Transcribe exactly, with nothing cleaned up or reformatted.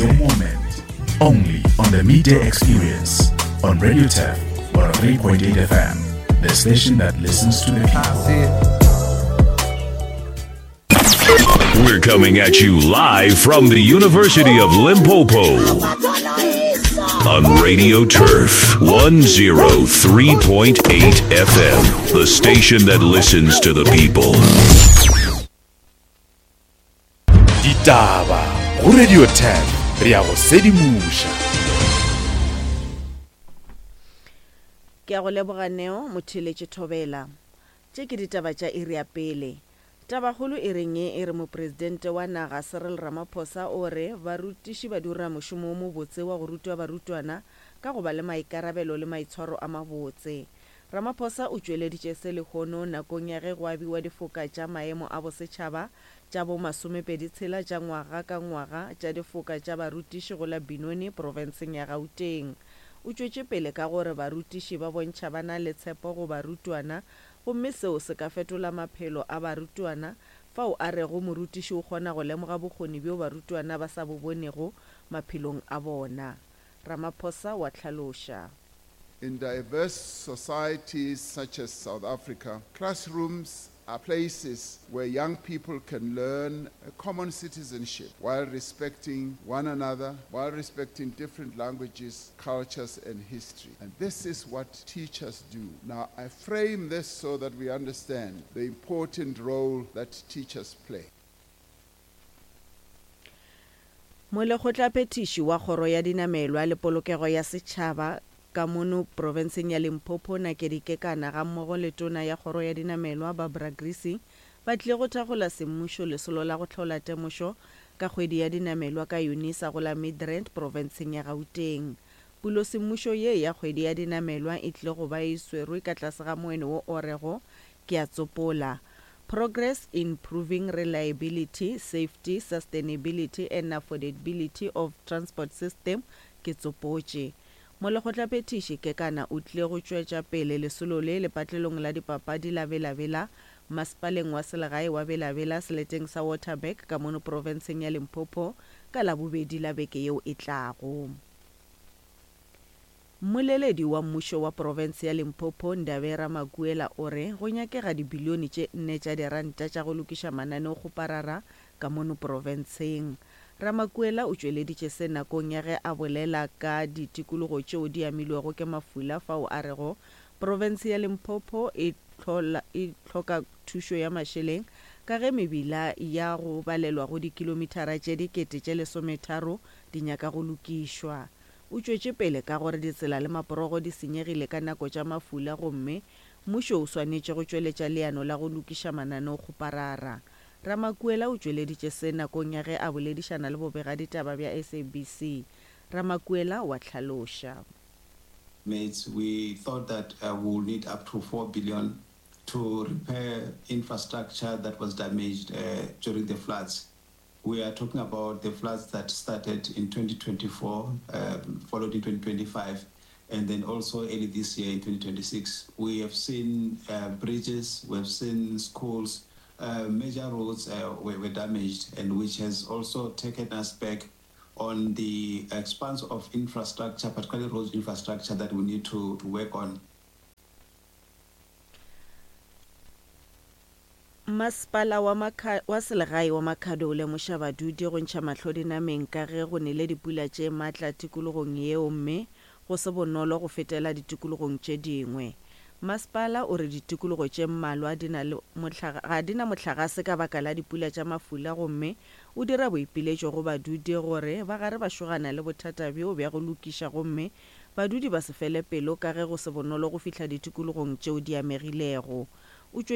Your moment. Only on the Midday Experience on Radio Turf one oh three point eight F M, the station that listens to the people. We're coming at you live from the University of Limpopo on Radio Turf one oh three point eight F M, the station that listens to the people. Ditaba go Radio Turf, re a go sedimoša. Ke a go leboga Neo, motheeletši Thobela. Tše ke ditaba tša iri ya pele. Tabakgolo e reng e re mopresidente wa naga Cyril Ramaphosa o re barutiši ba dira mošomo o mobotse wa go rutwa barutwana ka go ba le maikarabelo le maitshwaro a mabotse. Ramaphosa o tšweleditše se lehono nakong ya ge go abiwa difoka tša maemo a bosetšhaba tša bo masomepedi tshela tša ngwaga ka ngwaga tša difoka tša barutiši go la Benoni profenseng ya Gauteng. O tšwetše pele ka gore barutiši ba bontšha ba na le tshepo go barutwana gomme seo se ka fetola maphelo a barutwana, fao a rego morutiši o kgona go lemoga bokgoni bjo barutwana ba sa bo bonego maphelong a bona. Ramaphosa wa hlaloša. In diverse societies such as South Africa, classrooms are places where young people can learn a common citizenship while respecting one another, while respecting different languages, cultures, and history. And this is what teachers do. Now, I frame this so that we understand the important role that teachers play. Molekgotlaphethiši wa kgoro ya dinamelwa le polokego ya setšhaba ka mono profenseng ya Limpopo Nakedi Kekana gammogo le tona ya kgoro ya dinamelwa Barbara Creecy ba tlile go thakgola semmušo lesolo la go hlola temošo ka kgwedi ya dinamelwa ka Unisa go la Midrand profenseng ya Gauteng. Pulo semmušo ye ya kgwedi ya dinamelwa e tlile go ba e swerwe ka tlase ga moeno wo o rego ke a tsopola Progress in proving reliability, safety, sustainability and affordability of transport system ke tsopotše. Molekgotlaphethiši Kekana o tlile go tšwetša pele lesolo le lepatlelong la dipapadi la Bela-Bela masepaleng wa selegae wa Bela-Bela seleteng sa Waterberg ka mono profenseng ya Limpopo ka Labobedi la beke yeo e tlago. Mmoleledi wa mmušo wa profense ya Limpopo Ndabera Ramakuela o re go nyakega dibilione tše nne tša diranta tša go lokiša mananeokgoparara ka mono profenseng. Ramakuela o tšweleditše se nakong ya ge a bolela ka ditikologo tšeo di amilwego ke mafula fao a rego profense ya Limpopo e hloka thušo ya mašeleng ka ge mebila ya go balelwa go dikilomithara tše dikete tše lesometharo di nyaka go lokišwa. O tšwetše pele ka gore ditsela le maporogo di senyegile ka nako tša mafula gomme mmušo o swanetše go tšweletša leano la go lokiša mananeokgoparara. Ramakuela o tšweleditše se nakong ya ge a boledišana le bobegaditaba bja S A B C. Ramakuela wa hlaloša. Mates, we thought that uh, we'll need up to four billion to repair infrastructure that was damaged uh, during the floods. We are talking about the floods that started in twenty twenty-four, um, followed in twenty twenty-five, and then also early this year in twenty twenty-six. We have seen uh, bridges, we have seen schools, uh, major roads uh, were, were damaged, and which has also taken us back on the expanse of infrastructure, particularly road infrastructure, that we need to, to work on. Masepala wa Makha, wa selegae wa Makhado o lemoša badudi go ntšha mahlo dinameng ka ge go nele dipula tše matla tikologong yeo mme go se bonolo go fetela ditikologong tše dingwe. Masepala o re ditikologo tše mmalwa di na le mohlaga, ga di na mohlagase ka baka la dipula tša mafula gomme o dira boipiletšo go badudi gore ba gare ba šogana le bothata bjo bja go lokiša gomme badudi ba se fele pelo ka ge go se bonolo go fihla ditikologong tšeo di amegilego. O tšwetše